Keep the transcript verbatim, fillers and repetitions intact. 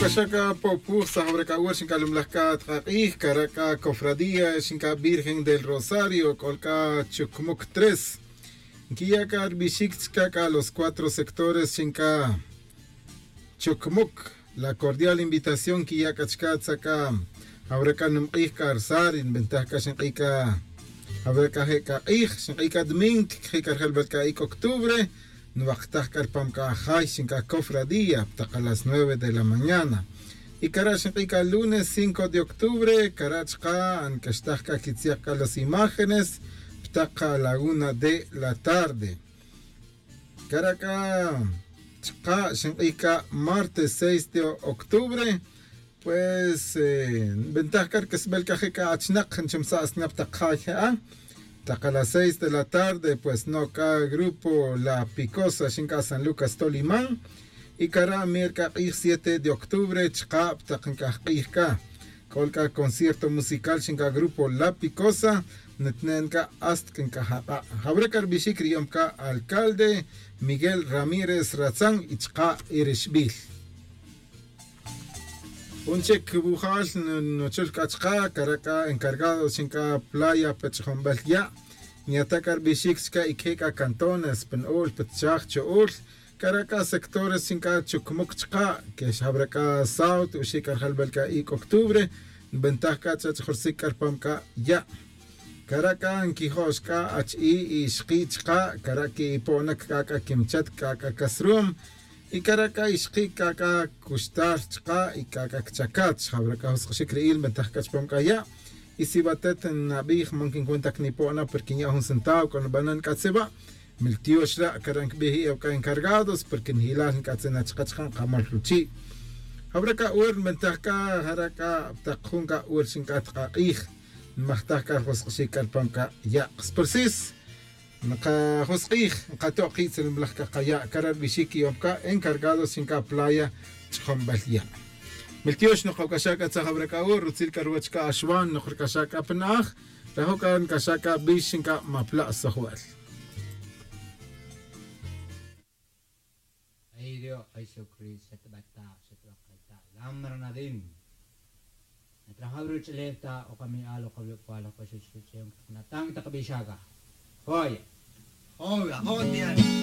Xa c'a popuj sa' jawra c'a wer xinc'a lumlaj c'a tak'ak'ij cara' c'a cofradía xinc'a virgen del rosario c'ol c'a chucmuc tres. Nquiya' c'a rbixic chica c'a los cuatro sectores xinc'a chucmuc. La cordial invitación nquiya' c'a chica tza c'a jawra c'a numk'ij c'a rsar y nbentaj c'a xink'i' c'a jawra c'a je' c'a k'ij xink'i' c'a domingo quiqji' c'a rjelbel c'a ic' octubre. Nwaktaj c'a rpam c'a jay xinc'a cofradía ptak a las nueve de la mañana. Y cara' xink'i' c'a lunes cinco de octubre cara' chka' nc'axtaj c'a quitziak c'a las imágenes ptak a la una de la tarde. Cara' c'a chka' xink'i' c'a martes seis de octubre. Pues nbentaj c'a rc'asbel c'a je' c'a achinak nchumsa' sna ptak jay je'a. Ptak a las seis de la tarde pues no' c'a grupo la picosa xinc'a san lucas toliman. Y cara' mir c'a k'ij siete de octubre chka' ptak nc'aj k'ij c'a c'ol c'a concierto musical xinc'a grupo la picosa. Nitnen c'a hasta c'a nc'aj ak'a' jawra c'a rbixic riyom c'a alcalde miguel ramírez ratzan y chka' irixbil. Jun chic wujal nuchul c'a chka' cara' c'a encargado xinc'a playa pe ch'jonbel ya'. Nyata' c'a rbixic chica ique c'a cantones pe nu'ul pe tchaj chu'ul. Cara' c'a sectores xinc'a chucmuc chka' que xjawra c'a sauto uxi' c'a rjelbel c'a ic' octubre. Nbentaj c'a ch'ach'jursic c'a rpam c'a ya'. Cara' c'a nquijo'x c'a achi'i' y ixki' chka' cara' quipo'onac c'a c'a quimchat c'a c'a casrum. Y cara' c'a ixki' c'a c'a cuxtar chka' y c'a c'a cchacat xjawra c'a jusk'ixic ri'il nbentaj c'a chpam c'a ya'. Y si watet nnabij man quincuenta cnipo'ona porque nya' jun centavo c'a nbanan c'a tzewa'. Miltiox ra' cara' ncbij i ewc'a encargados porque njilal nc'atzin na chka chka' nkamol ruchi'. Jawra c'a wer nbentaj c'a jara' c'a ptak jun c'a wer xinc'a tk'ak'ij. Nmajtaj c'a rjusk'ixic c'a rpam c'a ya' kspursis. Nkajusk'ij nkato' ki' tzilmlaj c'a kaya' cara' rbixic iyom c'a encargados xinc'a playa ch'jonbel ya'. Miltiox nok awc'axa' c'a tzaj awra c'a wer rutzil c'a ruwech c'a axwan nok rc'axa' c'a pana'aj. Rajo' c'a nc'axa' c'a bix xinc'a mapla' sojbel. Ay dios jesucristo xatbata' xatbata' kayta' lamra nadin. Natrajaw ruch'ulef ta' okami'al okawik'wal ok'oxoch ruch'uyon ktaknatan ktakbixaka. Joya. Joya joya.